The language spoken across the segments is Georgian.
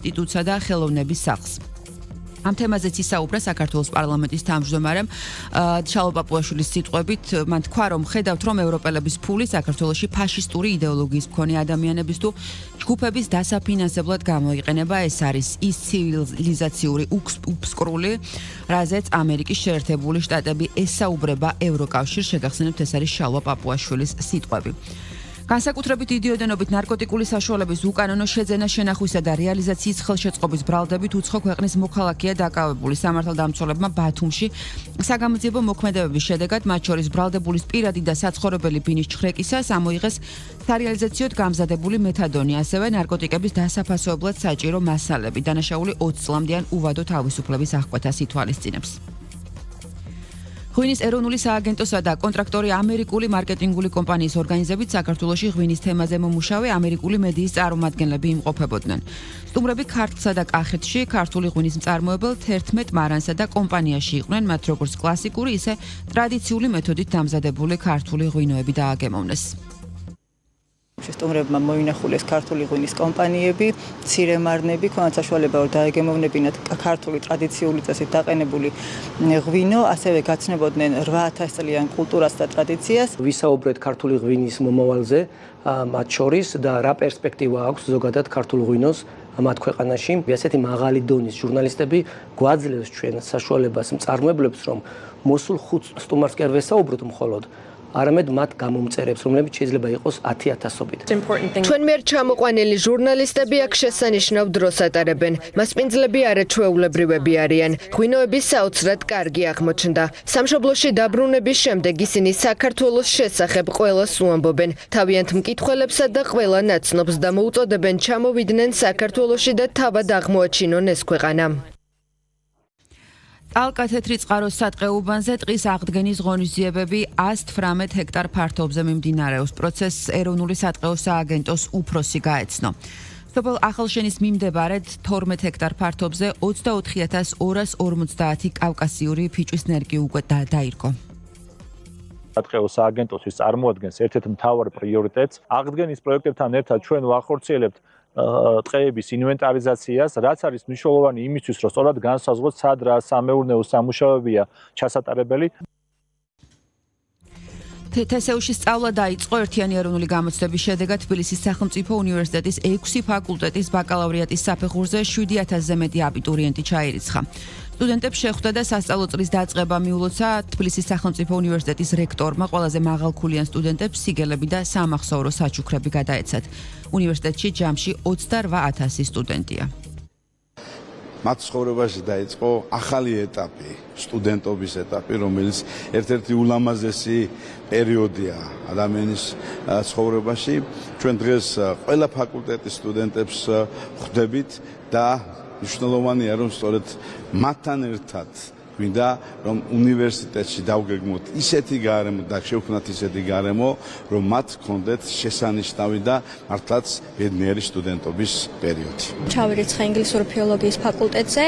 ინსტიტუტსა და ხელოვნების სახლს. ამ თემაზეც ისაუბრა საქართველოს პარლამენტის თავმჯდომარემ ჩალო პაპუაშვილის სიტყვებით, მან თქვა, რომ ხედავთ, რომ ევროპელების ფული საქართველოში ფაშისტური იდეოლოგიის მქონე ადამიანების თუ ჯგუფების დასაფინანსებლად გამოიყენება. ეს არის ის ცივილიზაციური უფსკრული, რაზეც ამერიკის შეერთებული შტატები ესაუბრება ევროკავშირს. შეგახსენებთ, ეს არის ჩალო პაპუაშვილის სიტყვები. განსაკუთრებით დიდი ოდენობით ნარკოტიკული საშუალების უკანონო შეძენა, შენახვისა და რეალიზაციის ხელშეწყობის ბრალდებით უცხო ქვეყნის მოქალაქეა დაკავებული. სამართალდამცველებმა ბათუმში საგამოძიებო მოქმედებების შედეგად, მათ შორის ბრალდებულის პირადი და საცხოვრებელი ბინის ჩხრეკისას ამოიღეს სარეალიზაციოდ გამზადებული მეთადონი, ასევე ნარკოტიკების დასაფასოებლად საჭირო მასალები. დანაშაული 20 წლამდიან უვადო თავისუფლების აღკვეთას ითვალისწინებს. ღვინის ეროვნული სააგენტოსა და კონტრაქტორი ამერიკული მარკეტინგული კომპანიის ორგანიზებით საქართველოში ღვინის თემაზე მომუშავე ამერიკული მედიის წარმომადგენლები იმყოფებოდნენ. სტუმრები ქართლსა და კახეთში ქართული ღვინის მწარმოებელ 11 მარანსა და კომპანიაში იყვნენ, მათ როგორც კლასიკური, ისე ტრადიციული მეთოდით დამზადებული ქართული ღვინოები დააგემოვნეს. სტუმრებმა მოინახულეს ქართული ღვინის კომპანიები, ცირემარნები, ქონათ საშუალება რომ დაეგემოვნებინათ ქართული ტრადიციული წესით დაყენებული ღვინო, ასევე გაცნობოდნენ 8000 წლიან კულტურას და ტრადიციას. ვისაუბრეთ ქართული ღვინის მომავალზე, მათ შორის და რა პერსპექტივა აქვს ზოგადად ქართულ ღვინოს მათ ქვეყანაში. ესეთი მაღალი დონის ჟურნალისტები გვაძლევს ჩვენ საშუალებას მწარმოებლებს, რომ მოსულ 5 სტუმარს კი არ ვესაუბროთ მხოლოდ, არამედ მათ გამომწერებს, რომლებიც შეიძლება იყოს 10,000-ობით. ჩვენ მიერ ჩამოყვანილი ჟურნალისტები აქ შესანიშნავ დროს ატარებენ. მასპინძლები არაჩვეულებრივები არიან. ღვინოების საოცრად კარგი აღმოჩნდა. სამშობლოში დაბრუნების შემდეგ ისინი საქართველოს შესახებ ყველას უამბობენ. თავიანთ მკითხველებსა და ყველა ნაცნობს და მოუწოდებენ ჩამოვიდნენ საქართველოში და თავად აღმოაჩინონ ეს ქვეყანა. ალკათეთრი წყაროს სატყეუბანზე ტყის აღდგენის ღონისძიებები 118 ჰექტარ ფართობზე მიმდინარეობს. პროცესს ეროვნული სატყეო სააგენტოს უფროსი გაეცნო. სოფელ ახალშენის მიმდებარედ 12 ჰექტარ ფართობზე 24250 კავკასიური ფიჭვის ნერგი უკვე დაირგო. სატყეო სააგენტოსთვის წარმოადგენს ერთ-ერთ მთავარ პრიორიტეტს. აღდგენის პროექტებთან ერთად ჩვენ ვახორციელებთ ტყეების ინვენტარიზაციას, რაც არის მნიშვნელოვანი იმისთვის, რომ სწორად განსაზღვროთ, სად რა სამეურნეო სამუშაოებია ჩასატარებელი. თესეუში სწავლა დაიწყო ერთიანი ეროვნული გამოცდების შედეგად თბილისის სახელმწიფო უნივერსიტეტის 6 ფაკულტეტის ბაკალავრიატის საფეხურზე 7000-ზე მეტი აბიტურიენტი ჩაირიცხა. სტუდენტებს შეხვდა და სასწავლო წლის დაწყება მიულოცა თბილისის სახელმწიფო უნივერსიტეტის რექტორმა ყველაზე მაღალქულიან სტუდენტებს სიგელები და სამახსოვრო საჩუქრები გადაეცათ. უნივერსიტეტში ჯამში 28000 სტუდენტია. მათ ცხოვრებაში დაიწყო ახალი ეტაპი, სტუდენტობის ეტაპი, რომელიც ერთ-ერთი ულამაზესი პერიოდია ადამიანის ცხოვრებაში. ჩვენ დღეს ყველა ფაკულტეტის სტუდენტებს ხვდებით და მნიშვნელოვანია, რომ სწორედ მათთან ერთად გვინდა, რომ უნივერსიტეტში დავგეგმოთ ისეთი გარემო და შევქმნათ ისეთი გარემო, რომ მათ ჰქონდეთ შესანიშნავი და მართლაც ბედნიერი სტუდენტობის პერიოდი. ჩავირიცხა ინგლისური ფილოლოგიის ფაკულტეტზე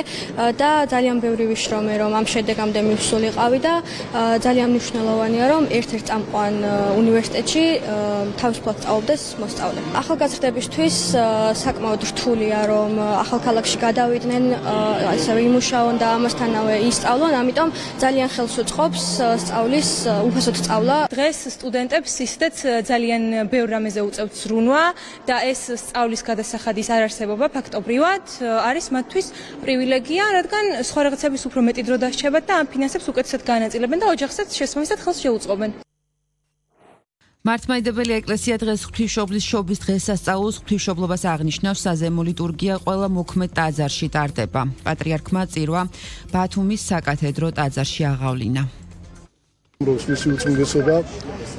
და ძალიან ბევრი ვიშრომე, რომ ამ შედეგამდე მივსულიყავი და ძალიან მნიშვნელოვანია, რომ ერთ-ერთ წამყვან უნივერსიტეტში თავისუფლად სწავლობდეს მოსწავლე. ახალგაზრდებისთვის საკმაოდ რთულია, რომ ახალ ქალაქში გადავიდნენ, ასევე იმუშაონ და ამასთანავე ისწავლონ. ამიტომ ძალიან ხელს უწყობს სწავლის უფასოდ სწავლა. დღეს სტუდენტებს ისედაც ძალიან ბევრ რამეზე უწევთ ზრუნვა და ეს სწავლის გადასახადის არარსებობა ფაქტობრივად არის მათთვის პრივილეგია, რადგან სხვა რაღაცების უფრო მეტი დრო დასჭებათ და ამ ფინანსებს უკეთესად განაწილებენ და ოჯახსაც შესაბამისად ხელს შეუწყობენ. მართლმადიდებელი ეკლესია დღეს ღვთისმშობლის შობის დღესასწაულს ღვთისმშობლობას აღნიშნავს. საზეიმო ლიტურგია ყველა მოქმედ ტაძარში ტარდება. პატრიარქმა წირვა ბათუმის საკათედრო ტაძარში აღავლინა. მისი უწმინდესობა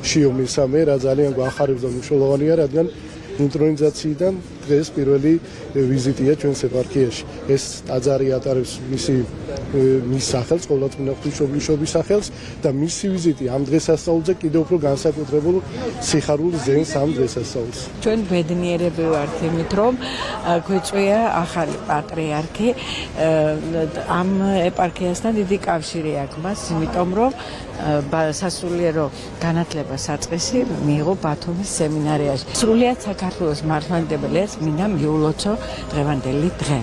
შიო მესამე, რა ძალიან გვახარებს და მნიშვნელოვანია, რადგან ინტრონიზაციიდან დღეს პირველი ვიზიტია ჩვენს ეპარქიაში. ეს ტაძარი ატარებს მის სახელს, ყოვლადწმინდა ღვთისმშობლის შობის სახელს და მისი ვიზიტი ამ დღესასწაულზე კიდევ უფრო განსაკუთრებულ სიხარულს ზენს ამ დღესასწაულს. ჩვენ ბედნიერები ვართ იმით, რომ გვეწვია ახალი პატრიარქი, ამ ეპარქიასთან დიდი კავშირი აქვს მას, იმიტომ რომ სასულიერო განათლება საწყისი მიიღო ბათუმის სემინარიაში. სრულიად საქართველოს მართლმადიდებელი მინდა მიულოცო დღევანდელი დღე.